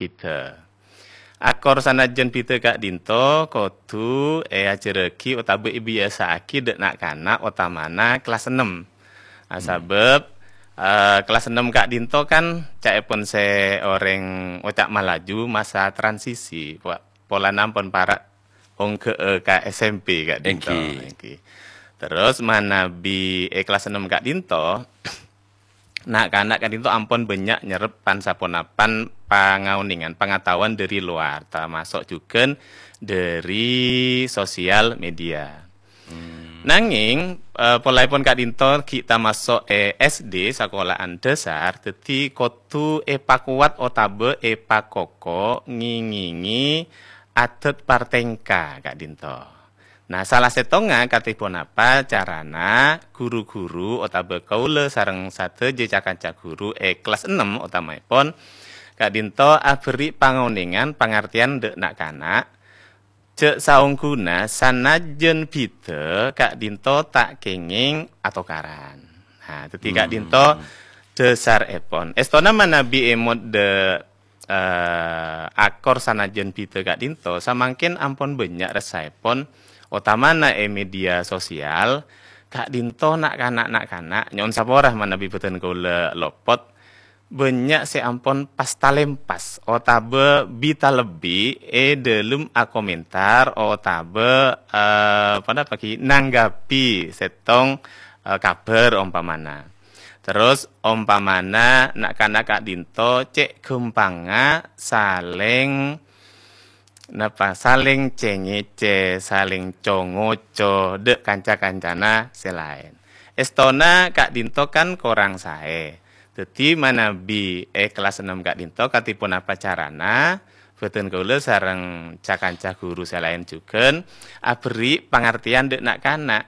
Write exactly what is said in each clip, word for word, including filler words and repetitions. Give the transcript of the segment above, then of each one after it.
bhidhâ. Akor sanajjân bhidhâ ka'dinto kodhu èajhârrâghi otabâ èbiyasa'aghi dâ' na'-kana' otamana kellas ennem. Ah, sabâb, eh, kellas ennem ka'dinto kan ca'èpon sè orèng oca' Malaju masa transisi, Pak. Polana ampon para' ongghâ'â ka S M P ka'dinto. Èngghi. Èngghi. Terros manabi è kellas ennem ka'dinto, na'-kana' ka'dinto ampon bânnya' nyerrep pan-saponapan pangaonèngan, pangataowan dâri lowar, tamaso' jhughân dâri sosial media. Hmm. Nangèng, eh, polaèpon ka'dinto ghi' tamaso' è S D, sakola'an dhâsar, dhâddhi kodhu èpakowat otabâ èpakoko ngèngèngè adhât partèngka ka'dinto. Nah, sala sèttongnga katè ponapa carana ru-ghuru otabâ kaulâ sareng sadhâjâ ca-kanca ghuru è kellas ennem otamaèpon ka'dinto aberri' pangaonèngan pangartèyan dâ' na'-kana', jhâ' saongghuna sanajjân bhidhâ ka'dinto ta' kèngèng atokaran. Nah, dhâddhi Hmm. ka'dinto dhâsarèpon. Èstona manabi è modhâ eh, akor sanajjân bhidhâ ka'dinto, samangkèn ampon bânnya' ressaèpon, otamana è media sosial, ka'dinto na'-kana', na'-kana', nyo'on sapora manabi bhâdhân kaulâ lopot, bânnya' sè ampon pas talèmpas, otabâ bi-, talebbi è dhâlem akomentar, otabâ, eh, ponapa ghi, nanggapi sèttong, eh, kabhâr ompamana. Terros, ompamana na'-kana' ka'dinto cè' ghâmpangnga salèng, napa, salèng cè-ngècè, salèng co-ngoco dâ' kanca-kancana sè laèn. Èstona ka'dinto kan korang saè. Dhâddhi, manabi è kellas ennem ka'dinto, katè ponapa carana, bhâdhân kaulâ sareng ca-kanca ghuru sè laèn jhughân aberri' pangartèyan dâ' na'-kana'.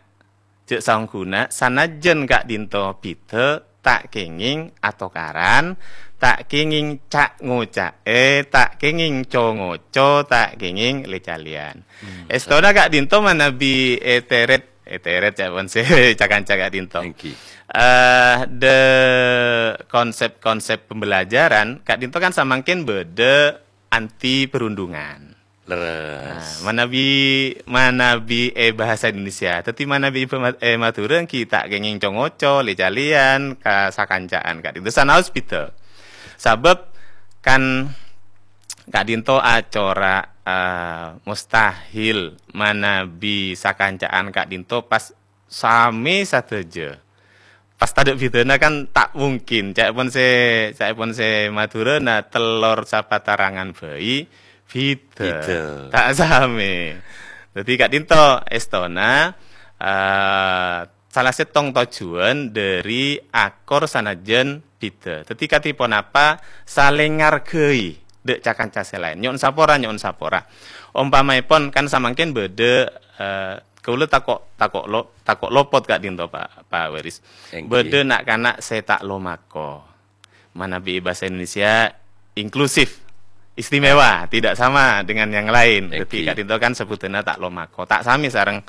Jhâ' saongghuna, sanajjân ka'dinto bhidhâ, ta' kèngèng atokaran, ta' kèngèng ca'-ngoca'è, ta' kèngèng co-ngoco, ta' kèngèng lè-calèyan. Hmm. Èstona ka'dinto manabi ètèrèt, ètèrèt ca'èpon sè ca-kanca ka'dinto. Èngghi. Eh, dâ' konsep-konsep pembelajaran, ka'dinto kan samangkèn bâdâ anti perundungan. Leres. Nah, manabi, manabi è bahasa Indonesia. Dhâddhi manabi è ma-, è Madhurâ ghi' ta' kèngèng co-ngoco, lè-calèyan, ka sakanca'an ka'dinto. Sanaos bhidhâ. Sabâb kan ka'dinto acora', eh, mustahil manabi sakanca'an ka'dinto pas samè sadhâjâ. Pas tadâ' bhidhâna kan ta' mungkin. Ca'èpon sè, ca'èpon sè Madhurâna tellor sapatarangan bhâi, bhidhâ. Bhidhâ. Ta' samè. Dhâddhi ka'dinto èstona, eh, sala sèttong tojjhuwân dâri akor sanajjân bhidhâ. Dhâddhi katè ponapa salèng ngarghâi dâ' ca-kanca sè laèn. Nyo'on sapora, nyo'on sapora. Ompamaèpon kan samangkèn bâdâ, eh, Kaulâ tako', tako' lo-, tako' lopot ka'dinto, Pa', Pa' Waris. Èngghi. Bâdâ na'-kana' sè ta' lomako. Manabi bhâsa Indonesia inklusif, istimewa, tidak sama dengan yang lain. Dhâddhi Èngghi. Ka'dinto kan sebutanna ta' lomako, ta' samè sareng,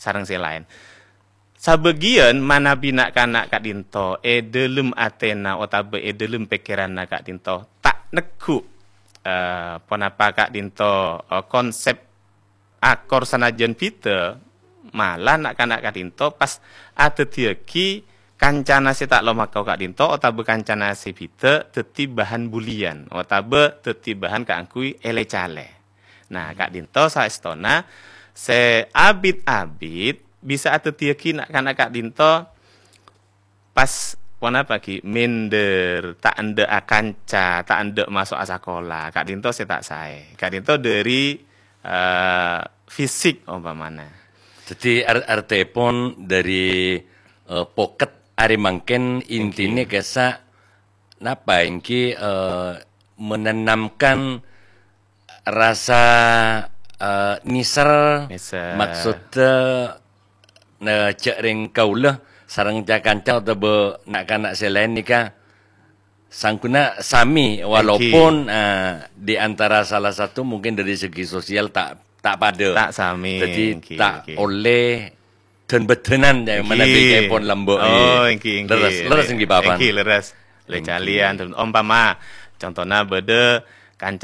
sareng sè laèn. Sabâgiyân manabi na'-kana' ka'dinto è dhâlem atèna otabâ è dhâlem pèkkèranna ka'dinto ta' neggu', eh, ponapa ka'dinto, eh, konsep akor sanajjân bhidhâ, malah na'-kana' ka'dinto pas adhâddhiyâghi kancana sè ta' lomako ka'dinto otabâ kancana sè bhidhâ dhâddhi bahan bulian otabâ dhâddhi bahan kaangghuy èlè-calè. Nah, ka'dinto saèstona sè abit-abit bisa adhâddhiyâghi na'-kana' ka'dinto pas ponapa ghi', minder, ta' endâ' akanca, ta' endâ' maso'a sakola, ka'dinto sè ta' saè. Ka'dinto dâri, eh, fisik ompamana. Dhâddhi ar-, artèpon dâri, eh, poket arè mangkèn intinè Èngghi. Kèsa' napa èngghi, eh, menanamkan rasa, eh, nèser, Nèser. Maksudnya, eh, jhâ' rèng kaulâ sareng ca-kanca otabâ na'-kana' sè laèn nèka sangguna sami, Èngghi. Walaupun, eh, di antara salah satu mungkin dari segi sosial ta', ta' padâ. Ta' sami, Jadi, èngghi, ta' èngghi. Ollè dân-bâdhânan, ya, Èngghi. Manabi kaèpon lambâ', Oh, eh. Èngghi, èngghi. Leres, leres, èngghi, Bapak. Èngghi, leres. Èngghi. Lè-calèyan. Ompama, contohna bâdâ kancana